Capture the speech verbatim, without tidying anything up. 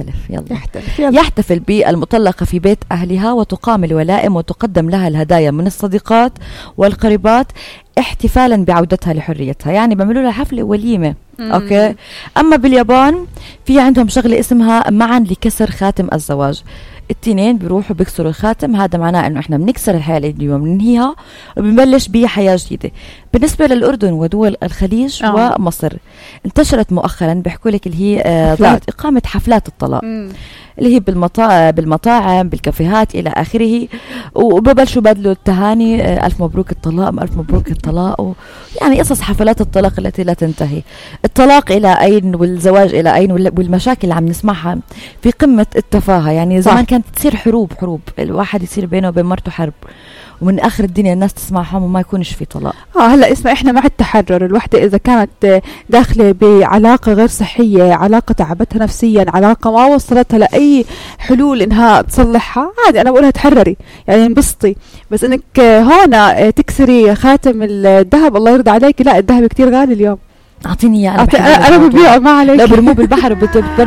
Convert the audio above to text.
يحتلف يلا يحتلف يلا. يحتفل بالمطلقة في بيت أهلها وتقام الولائم وتقدم لها الهدايا من الصديقات والقريبات احتفالا بعودتها لحريتها. يعني بيعملوا لها حفلة وليمة. مم. أوكي. أما باليابان في عندهم شغلة اسمها معا لكسر خاتم الزواج. التنين بيروحوا بيكسروا الخاتم. هذا معناه انه احنا بنكسر الحياة اليوم بننهيها وبنبلش بحياة جديدة. بالنسبة للأردن ودول الخليج أوه. ومصر انتشرت مؤخرا بيحكوا لك اللي هي آه إقامة حفلات الطلاق مم. اللي هي بالمطاعم بالمطاعم بالكافيهات إلى آخره. وببلشوا بدلوا التهاني آه ألف مبروك الطلاق ألف مبروك الطلاق. يعني قصص حفلات الطلاق التي لا تنتهي. الطلاق إلى أين والزواج إلى أين والمشاكل اللي عم نسمعها في قمة التفاهة. يعني زمان كانت تصير حروب حروب الواحد يصير بينه وبين مرته حرب ومن آخر الدنيا الناس تسمعهم وما يكونش في طلاق. آه هلأ اسمع إحنا مع التحرر. الوحدة إذا كانت داخلة بعلاقة غير صحية علاقة تعبتها نفسيا علاقة ما وصلتها لأي حلول إنها تصلحها عادي أنا بقولها تحرري يعني انبسطي. بس إنك هنا تكسري خاتم الذهب الله يرضى عليك لا الذهب كتير غالي اليوم. أعطيني إياه أنا, أنا ببيعه ما عليك. لا برموه بالبحر